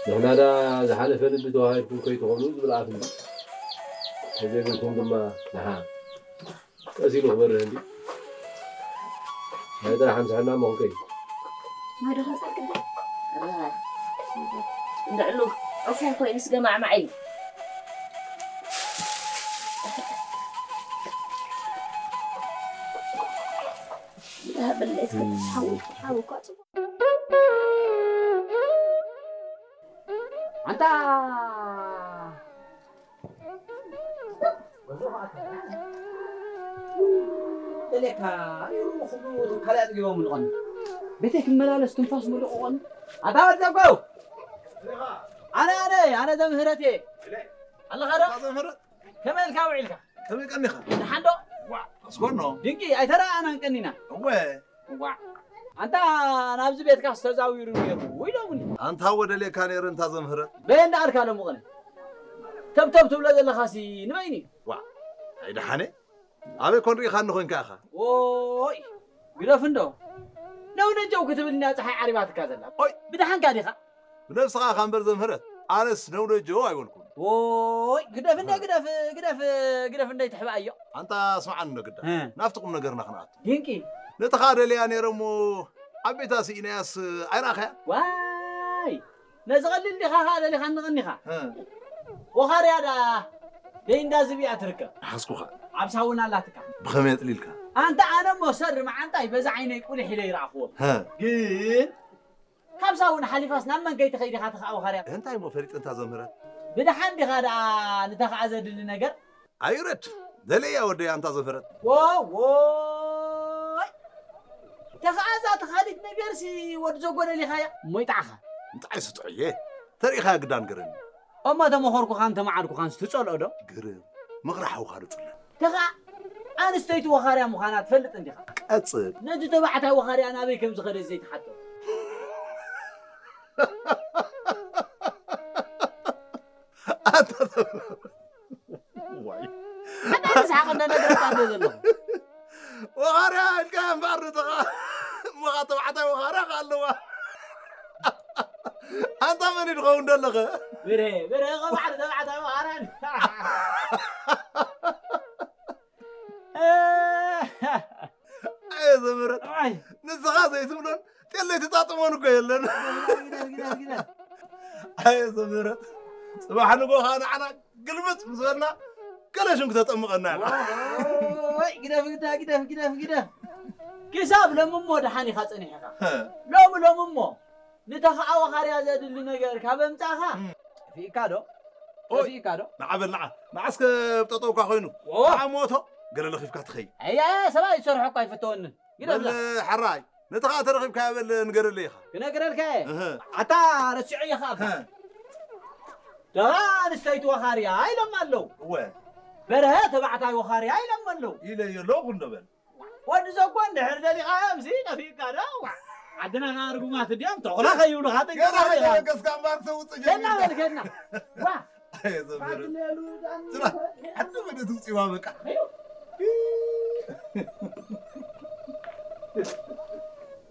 ንሕና ዳ ዝሓለፈ ልቢ ተዋሂድኩም ከይትኾኑ ዝብል ኣፍ እንዲ። ተዘይብልኩም ድማ ንሓ ቀስ ኢሉ ክበርህ እንዲ። ናይ ጥራሕ ኣምስሐና እሞ ክንከይ። እንድዕሉ ዕፉን ኮይኑ ስገማዕማዕ ኢሉ። ኣንታ ደሌካ ይሩ ክብሉ ካልእ ኣጥጊቦም ልቐኑ ቤተይ ክመላለስ ትንፋስ ምልቕቖኑ ኣታ ወዲ ዘጎው ኣነ ኣነ ኣነ ዘምህረት እየ ኣለኻ ዶ ዘምህረት ከመይ ኢልካ ውዒልካ ከመይ ቀኒኻ ደሓን ዶ ኣስኮኖ ድንቂ ኣይተረኣኣናን ቀኒና እወ ዋዕ ኣንታ ናብዚ ቤትካ ዝተዛዊሩ ነይሩ ኢሎምኒ ኣንታ ወደሌ ካኔር እንታ ዘምህረት በየን ደኣልካ ሎምቕኒ ተብተብ ትብሎ ዘለኻሲ ንበይኒ እዩ ዋዕ ኣይደሓነ ኣበይ ኮን ርኢኻኒ ኮንካ ኢኻ ዎይ ግደፍ እንዶ ነው ነጀው ክትብል እንድያ ፀሓይ ዓሪባትካ ዘላ ኦይ ብደሓንካ ዲኻ ብነብስኻ ኢኻ እምበር ዘምህረት ኣነስ ነው ነጀው ኣይበልኩን ዎይ ግደፍ እንደ ግደፍ ግደፍ ግደፍ እንደ ይትሕባእዮ ኣንታ ስምዓኒ እንዶ ግዳ ናብቲ ቁም ነገርና ክንኣቱ ድንቂ ነቲ ኻደልያ ነይረ እሞ ዓበይታ ስኢናያስ ኣይረኣኸያ ዋይ ነዚ ቀሊል ዲኻ ኸዓ ደሊኻ እንቐኒኻ ወኻርያ ደኣ ደይ እንዳ ዝብያ ትርከብ ሓስኩኻ ኣብ ሳውና ኣላትካ ብኸመይ ኣጥሊልካ ኣንታ ኣነ እሞ ሰሪ መዓንጣይ በዛ ዓይነይ ቁሊሕ ኢለ ይረኣኽዎ ግን ካብ ሳውና ሓሊፋስ ናብ መን ከይትኸይድ ኢኻ ተኸዓ ወኻርያ እንታይ እሞ ፈሊጠ እንታ ዘምህረት ብደሓን ዲኻ ደኣ ንተኸዓ ዘድሊ ነገር ኣይውረድ ደለያ ወደይ ኣንታ ዘፈረት ዎይ ተኸኣዛ ተኻሊት ነገርሲ ወዲ ዘጎደሊኻያ እሞ ይጥዓኻ ምጥዓይ ስጥዑየ ተሪኢኻያ ግዳን ግርም እሞ ተመኸርኩኻን ተመዓድኩኻን ስትጸልኦ ዶ ግርም ምቕራሕ ውኻዱ ጽለ ተኻ ኣንስተይቲ ወኻርያ ምዃና ትፈልጥ እንዲኻ ቀጽል ነቲ ተባዕታይ ወኻርያ ናበይ ከም ዝኸደ ዘይትሓቶ ኣታ ሓንቲ ዝሓቐ እንዳነገረካ እንደ ዘለኹ ወኻርያ ኢልካ እምበኣር ንተኻ እሞኻ ተባዕታይ ወኻርያ ከ ኣለዋ ኣንታ መን እዩ ድኸውን ደለኸ ብረ ብረ ቐባዕሪ ተባዕታይ ወኻርያ ኣየ ዘምህረት ንስኻ ዘይትብሎን ጤለይ ትጣጥሞን እኮ የለን ኣየ ዘምህረት ጽባሕ ንጎ ኸዓ ንዓና ግልብጥ ምስ በልና ገለ ሽም ክተጠምቐና ኢኻ ግደፍ ግዳ ግደፍ ግደፍ ግደፍ ክሳብ ሎሚ እሞ ደሓን ኢኻ ጸኒሕኻ ሎሚ ሎሚ እሞ ንተኸኣ ወኻርያ ዘድሊ ነገር ካብ ኣምጻእኻ ጠፊእካ ዶ ጠፊእካ ዶ ንዓ በል ንዓ ንዓስከ ኣብ ጠጠውካ ኮይኑ ንዓ ሞቶ ገለ ለኺፍካ ትኸይድ ኣያ ሰብኣይ ዝሰርሖ እኳ ኣይፈተወንን ግደፍ በል ሕራይ ነቲ ኸዓ ተረኺብካዮ በል ንገረለይ ኢኻ ክነግረልካ እየ ኣታ ረሲዖ እየ ኸዓ ደራ ኣንስተይቲ ወኻርያ ኢሎም ኣለዉ እወ በርሀ ተባዕታይ ወኻርያ ኢሎም ኣለዉ ኢለዮ ኣለኹ እንዶ በል ወዲ ዘኮ እንድሕር ደሊኻዮ ምሲ ጠፊእካ ዶ ዓድና ኸዓ ርጉማት እንዲዮም ተኹላ ከይብሉኻ ጥንቀቕ ገና ኢኻ ከይተበገስካ እምበኣር ክተውፅእ ገና ጀሚርካ በል ገና ዋ ኣየ ዘምህረት ስራ ሓደ መደት ውፅዋ በቃ